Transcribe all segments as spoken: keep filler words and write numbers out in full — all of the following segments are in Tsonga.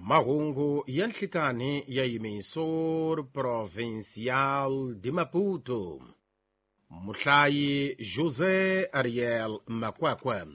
Mahungu ya nhlikani ya Emissor Provincial de Maputo. Muhlayi José Ariel Makwakwa.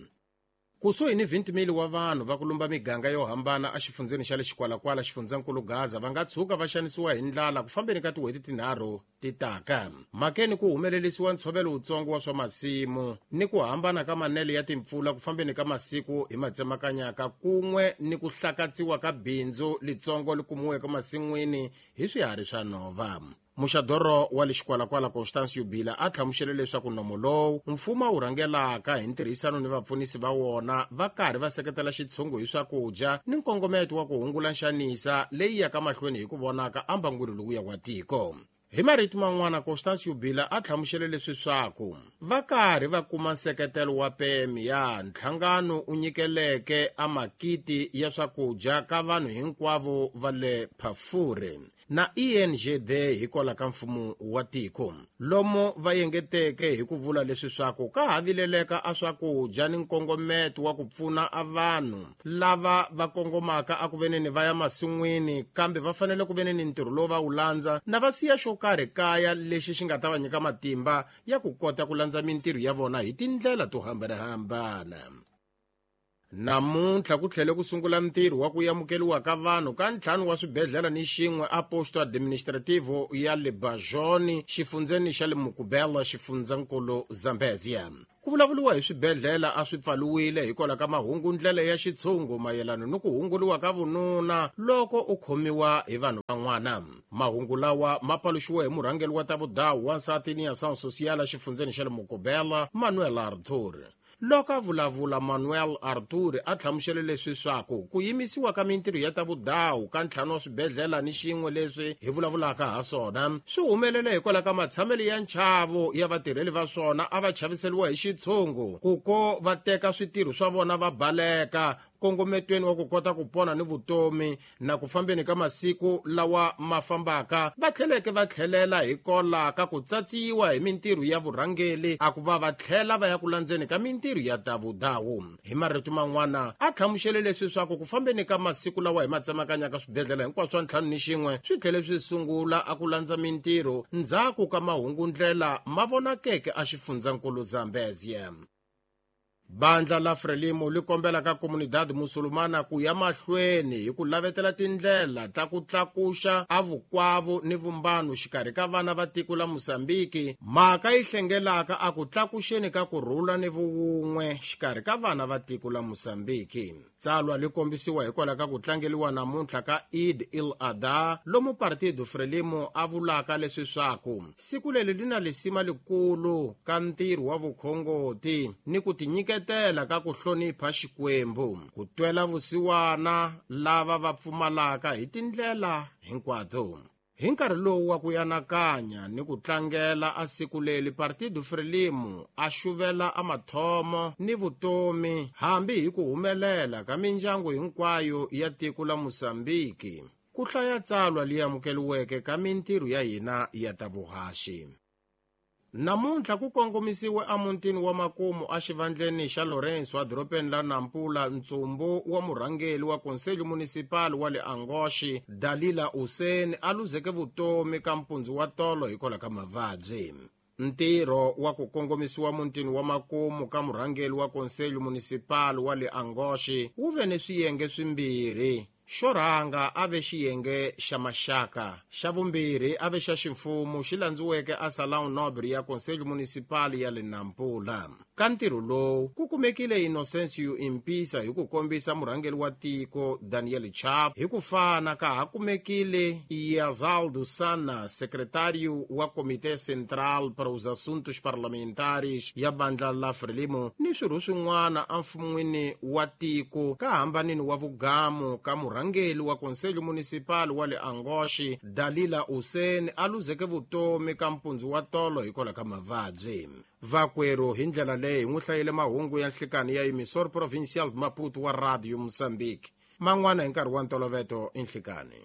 Kusuhi ni twenty mil wa vanhu va ku lumba miganga yo hambana exifundzeni xa le Xikwalakwala xifundzankulu Gaza va nga tshuka va xanisiwa hi ndlala ku fambeni ka tin'hweti tinharhu ti taka. Mhakeni ku humelerisiwa ntshovelo wutsongo wa swa masimu ni ku hambana ka manele ya timpfula ku fambeni ka masiku hi matsemakanyaka kun'we ni ku hlakatsiwa ka bindzu litsongo li kumiweke masin'wini hi swiharhi swa nhova. Muxadoro wa le Xikwalakwala Constancio Bila a hlamusele leswaku nomo lowu mfumo wu rhangelaka hi ntirhisano ni vapfunisi va wona va karhi va seketela xitshungu hi swakudya ni nkongometo wa ku hungula nxanisa leyi yaka mahlweni hi ku vonaka ambangwini lowuya wa tiko. Hi marito man'wana Constancio Bila a hlamusele leswi swaku va karhi va kuma nseketelo wa P M ya nhlangano u nyikeleke a makiti ya swakudya ka vanhu hinkwavo va le Phafure na E N G D hikwalaho ka mfumo wa tiko. Lomo va yengeteke hi ku vula leswi swaku ka ha vileleka a swakudya ni nkongometo wa ku pfuna a vanhu lava va kongomaka a ku veneni va ya masin'wini kambe va fanele ku veneni ntirho lowu va wu landza na va siya xo karhi kaya lexi xi nga ta va nyika matimba ya ku kota ku landza mintirho ya vona hi tindlela to hambanahambana. Namuntlha ku tlhele ku sungula ntirho wa ku amukeriwa ka vanhu ka ntlhanu wa swibedhlele ni xin'we a posto administrativo ya le Bajoni xifundzeni xa le Mukubela xifundzankulu Zambezia. Ku vulavuriwa hi swibedhlele a swi pfaliwile hikwalaho ka mahungu ndlela ya xitshungu mayelana ni ku hunguliwa ka vununa loko u khomiwa hi vanhu van'wana. Mahungu lawa ma paluxiwe hi murhangeri wa ta vudawu wansati ni ya Ação Social xifundzeni xa le Mukubela Manuel Arthur. Loko a vulavula Manuel Arthur a hlamusele leswi swaku ku yimisiwa ka mintirho ya ta vudawu ka ntlhanu wa swibedhlele ni xin'we leswi hi vulavulaka ha swona swi humelele hikwalaho ka matshamelo ya nchavo ya vatirheli va swona a va chaviseriwa hi xitshungu ku ko va teka switirho swa vona va baleka kongometweni wa ku kota ku pona ni vutomi na ku fambeni ka masiku lawa ma fambaka va tlheleke va tlhelela hikola ka ku tsatsiwa hi mintirho ya vurhangeli a ku va va tlhela va ya ku landzeni ka mintirho ya ta vudawu. Hi marito man'wana a hlamusele leswi swaku ku fambeni ka masiku lawa hi matsemakanyaka swibedhlele hinkwaswo swa ntlhanu ni xin'we swi tlhele swi sungula a ku landza mintirho ndzhaku ka mahungundlela ma vonakeke a xifundzankulu Zambezia. Bandla la Frelimo li kombela ka comunidade musulumana ku ya mahlweni hi ku lavetela tindlela ta ku tlakuxa a vukwavo ni vumbano xikarhi ka vana va tiko la Mozambiki mhaka yi hlengelaka a ku tlakuxeni ka ku rhula ni vuwun'we xikarhi ka vana va tiko la Mozambiki. Tsalwa li kombisiwa hikwalaho ka ku tlangeliwa namuntlha ka Eid il-Adha lomu Partido Frelimo a vulaka leswi swaku siku leri li na lisima likulu ka ntirho wa vukhongoti ni ku tinyiketela ka ku hlonipha Xikwembu ku twela vusiwana lava va pfumalaka hi tindlela hinkwato. Hi nkarhi lowu wa ku anakanya ni ku tlangela a siku leri Partido Frelimo a xuvela a mathomo ni vutomi hambi hi ku humelela ka mindyangu hinkwayo ya tiko la Mozambiki ku hlaya tsalwa li amukeliweke ka mintirho ya hina ya ta vuhaxi. Namuntlha ku kongomisiwe emutini wa makumu exivandleni xa Lourenço edorobeni la Nampula ntsumbu wa murhangeri wa Conselho Municipal wa le Angoche Dalila Hussein a luzeke vutomi ka mpundzu wa tolo hikwalaho ka mavabyi. Ntirho wa ku kongomisiwa mutini wa makumu ka murhangeri wa Conselho Municipal wa le Angoche wu ve ni swiyenge swimbirhi. Xo rhanga a ve xiyenge xa maxaka, xa vumbirhi a ve xa ximfumo xi landziweke a Salão Nobre ya Conselho Municipal ya le Nampula. Ka ntirho lowu ku kumekile Inocencio Impisa hi ku kombisa murhangeri wa tiko Daniel Chapo hi ku fana ka ha kumekile Yazaldo Sana, secretário wa Comitê Central para os Assuntos Parlamentares ya bandla la Frelimo ni swirho swin'wana emfun'wini wa tiko ka hambanini wa vugamu ka murhangeri wa Conselho Municipal wa le Angoche Dalila Hussein a luzeke vutomi ka mpundzu wa tolo hikwalaho ka mavabyi. Vakwerhu hi ndlela leyi hi n'wi hlayile mahungu ya nhlikani ya Emissor Provincial Maputo wa Radio Mozambique. Man'wana hi nkarhi wa ntoloveto i nhlikani.